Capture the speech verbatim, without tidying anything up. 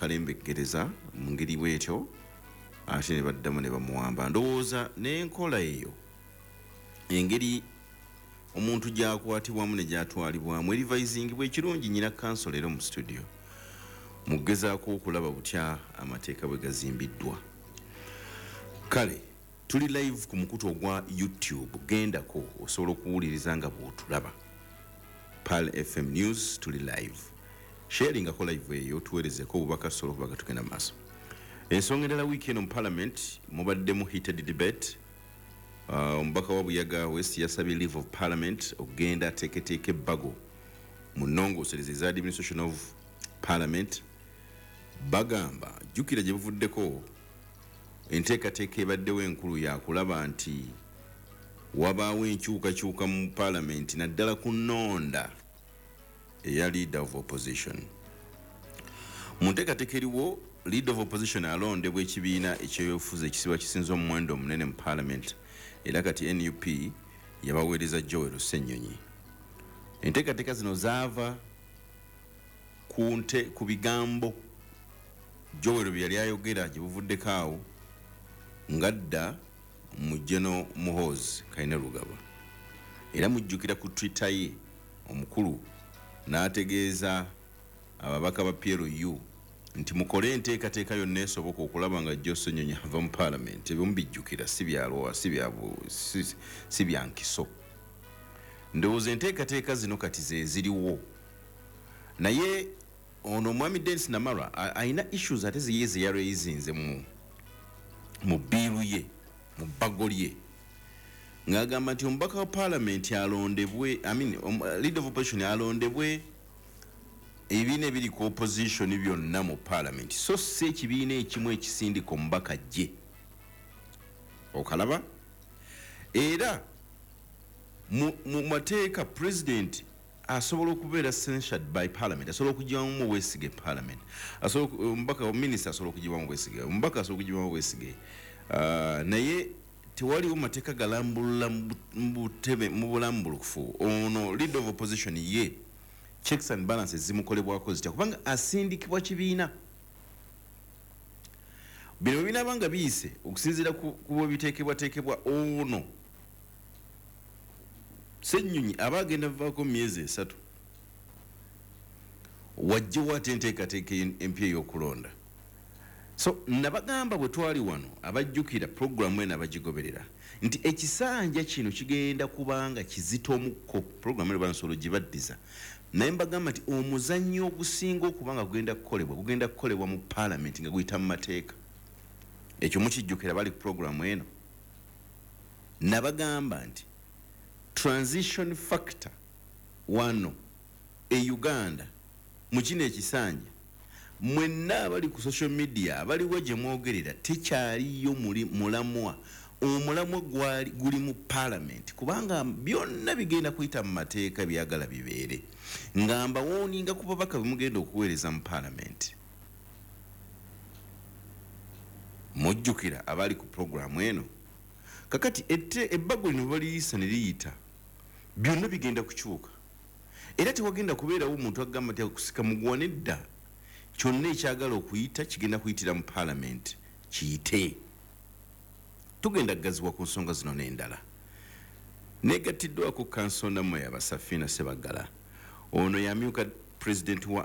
Okukalembeggereza mu ngeri bwetyo, ate ne baddamu ne bamuwamba. Ndowooza n'enkola eyo, engeri omuntu gyakwatibwamu ne gyatwalibwamu, erivaisingibwa ekirungi. Nyina counsel era mu studio mugezaako okulaba butya amateeka bwe gazimbiddwa. Kale tuli live ku mukutu ogwa YouTube, gendako osobola okuwuliriza nga bwotulaba. Pearl F M News, tuli live. Sharingako live eyo, tuweerezeko obubaka tusobola okuba nga tugenda maaso. Ensonga endala, wiiki eno mu Parliament mubaddemu heated debate. uh, omubaka wa Buyaga West yasabye leave of Parliament okugenda ateeketeeka ebbago mu nnongoosereza eza administration of Parliament. Bagamba, jjukira gye buvuddeko enteekateeka ebaddewo enkulu yakulaba nti wabaawo enkyukakyuka mu Parliament, naddala ku nnonda eya leader of opposition. Mu nteekateeka eriwo, leader of opposition alondebwa ekibiina ekyobufuzi ekisiba kisinza omuwendo omunene mu Parliament, era kati N U P yabaweereza Joel Ssenyonyi. Enteekateeka zino zaava ku nte ku bigambo Joel bye yali ayogera gye buvuddeko awo ngadda mu General Muhoozi Kainerugaba. Era mujjukira ku Twitter ye omukulu n'ategeeza ababaka ba P L U nti mukole enteekateeka yonna esoboka okulaba nga Joe Ssenyonyi ava mu Parliament. Ebyo mubijjukira, si byalwa, si bya- si- si bya nkiso. Ndowooza enteekateeka zino kati ze ziriwo, naye ono omwami Denis Namara a- alina issues ate ziye ze yaraisinze mu mu bill ye, mu bbago lye, ng'agamba nti omubaka wa Paalamenti alondebwe, I mean, um, leader of opposition alondebwe ebibiina ebiri ku opposition byonna mu Paalamenti, so si ekibiina ekimu ekisindika omubaka gye okalaba. Era mu mu mateeka, president asobola okubeera censured by Parliament, asobola okugibwamu obwesige Parliament, asobola oku- omubaka, minisita asobola okugibwamu obwesige, omubaka asobola okugibwamu obwesige. uh, naye tewaliwo mateeka galambulula mu bu- mu butebe mu bulambulukufu ono leader of opposition ye checks and balances zimukolebwako zitya, kubanga asindikibwa kibiina. Bino bwe binaaba nga biyise okusinziira ku ku bwe biteekebwateekebwa, ono Ssenyonyi aba agenda vaako mu myezi esatu, wajjewo ate enteekateeka empya ey'okulonda. So nabagamba bwe twali wano, abajjukira puroguramu eno, abagigoberera, nti ekisanja kino kigenda kubanga kizito omukko. Puroguramu eno bansobola ogibaddiza, naye mbagamba nti omuzannyo ogusinga okuba nga gugenda kukolebwa, gugenda kukolebwa mu Paalamenti nga guyita mu mateeka. Ekyo mukijjukira, bali ku puroguramu eno? Nabagamba nti transition factor wano e Uganda mu kino ekisanja, mwenna abali ku social media, abaliwo gye mwogerera, tekyaliyo muli mulamwa. Omulamwa gwali guli mu Parliament, kubanga byonna bigenda kuyita mu mateeka. Byagala bibeere nga mbawooninga ku babaka bemugenda okuweereza mu Parliament. Mujjukira abali ku puroguramu eno? Kakati ette ebbago lino baliyisa ne liyita, byonna bigenda kukyuka, era tewagenda kubeerawo omuntu agamba nti akusika muguwa. Nedda, kyonna ekyagala okuyita kigenda kuyitira mu Paalamenti, kiyite. Tugenda kugaziwa ku nsonga zino n'endala. Negattiddwako counsel Namoya Basafina Sebagala. Ono yamyuka pulezidenti wa